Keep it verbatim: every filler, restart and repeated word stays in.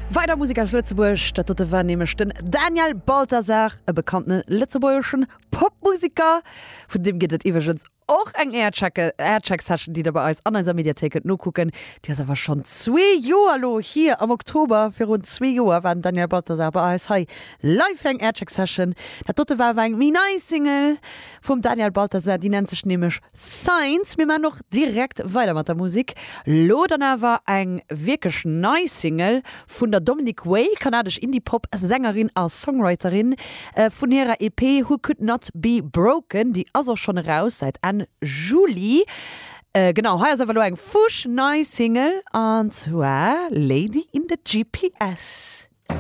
Weider Musek aus Lëtzebuerg, dat dote war nämlech den Daniel Balthasar, e bekannte lëtzebuergeschen Popmuseker. Vun deem gëtt et iwwregens och eng Aircheck-Session, déi der bei eis an eiser Mediathéik kënnt nokucken. Déi ass awer schonn zwee Joer lo hier. Am Oktober virun zwee Joer war den Daniel Balthasar bei eis hei live fir eng Aircheck-Session. Dat dote war awer eng méi nei Single vum Daniel Balthasar, déi nennt sech nämlech Signs. Mir maachen och direkt weider mat der Musek. Lo dann awer eng wierklech nei Single vun der Dominic Way, kanadesch Indie-Pop-Sängerin a Songwriterin, vun hirer E P Who Could Not Be Broken. Déi ass och schonn eraus säit Enn Juli. Genau, hei ass awer lo eng fuschnei Single, an zwar Lady in the G P S.